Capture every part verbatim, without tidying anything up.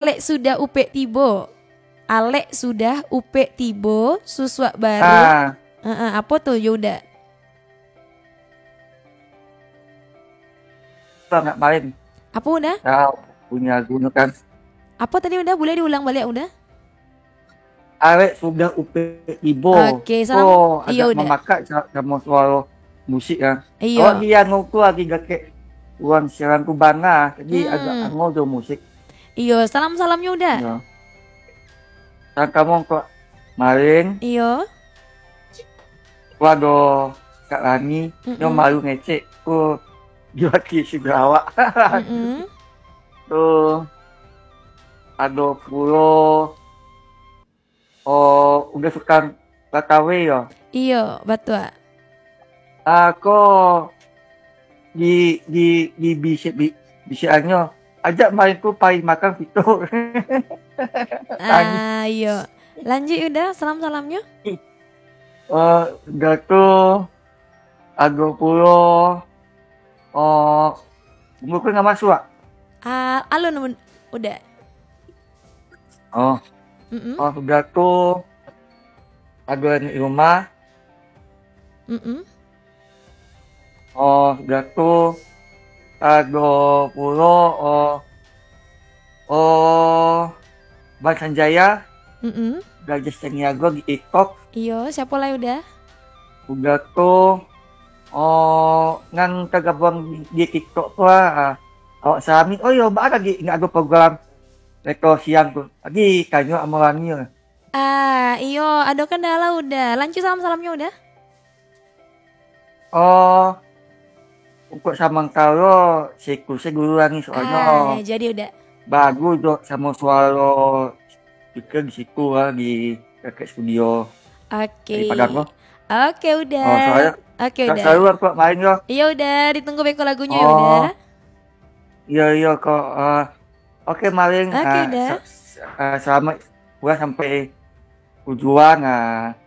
Alek sudah upek tibo. Alek sudah upek tibo, susuak baru. Ah. Heeh, apo tu, yo Uda? Selamat malam. Apo, Uda? Ya, punyo lagu tu kan. Apo tadi, Uda? Buliah diulang baliak, Uda? Alek sudah upek tibo. Oke, salam. Oh, iyo, agak Uda. Mamakat sa-, samo suaro musik, ah. Iyo. Awak di anu tu lagi dakek ruang siaran tu bana, jadi Hmm. agak ango jo musik. Iyo, salam-salamnyo, Uda. Iyo. Salam kamu kok maling. Iyo. Ko ado Kak Rani, nyo Mm-mm. malu ngecek ko di wakil sudah awak. Mm-mm. Tu ado pulo, oh, Uda Sukan Latawe yo. Iyo, batua. Ah, ko di, di, di bisi-, bi-, bisiannyo, ajak main ko pai makan pito. Ah, iyo. Lanjuik Uda, salam-salamnyo. Oh, Uda tu, ado pulo, oh, buku nggak masuk, ah? Ah, alun, Uda. Oh. Mm-mm. Oh, Uda tu, ado di rumah. Mm-mm. Oh, Uda tu, ado pulo, oh, oh, Bang Sanjaya, Mm-mm. Gadis Sandiago di TikTok. Iyo, siapo lai Uda? Uda tu, oh, nan tagabuang di, di TikTok tu lah, ah. Awak salami, oh iyo, baa lagi indak ado program Retro Siang tu. Lagi tanyo amo Rani lah. Ah, iyo, ado kendala Uda. Lanjuik salam-salamnyo Uda. Oh, untuk samantaro, siku se dulu lah ni, soalnyo Ah, jadi Uda. Bagus jo samo suaro speaker di siku lah, di dakek studio. Oke. Di Padang tu. Oke, Uda. Oh, soalnyo Oke, tak Uda. Selalu lah, Kak, main yo. Iyo, Uda. Ditunggu beko lagunyo, yo, Uda. Oh. Iyo, iyo, kok. Ah, oke, maling. Oke, ah, Uda. Sa-, sa-, ah, selamat pulang sampai tujuan, ah.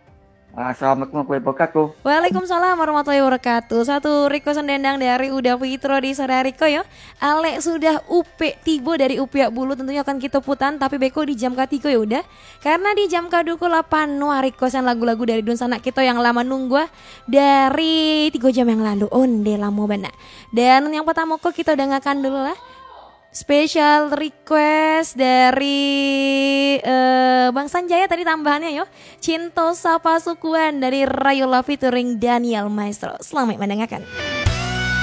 Ah, assalamualaikum warahmatullahi wabarakatuh. Waalaikumsalam warahmatullahi wabarakatuh. Satu requestan dendang dari Uda Fitro di sore hari ko, yo. Alek sudah upek tibo dari Upiak Bulu, tentunyo akan kito putan, tapi beko di jam katigo, yo, Uda. Karena di jam kaduo ko lah panuah requestan lagu-lagu dari dunsanak kito yang lah manunggu, ah, dari tigo jam yang lalu. Onde lamo bana. Dan yang pertamo ko kito dangakan dulu lah. Special request dari, eh, Bang Sanjaya tadi tambahannyo yo. Cinto Sapa Sukuan dari Rayola featuring Daniel Maestro. Selamat mendengarkan.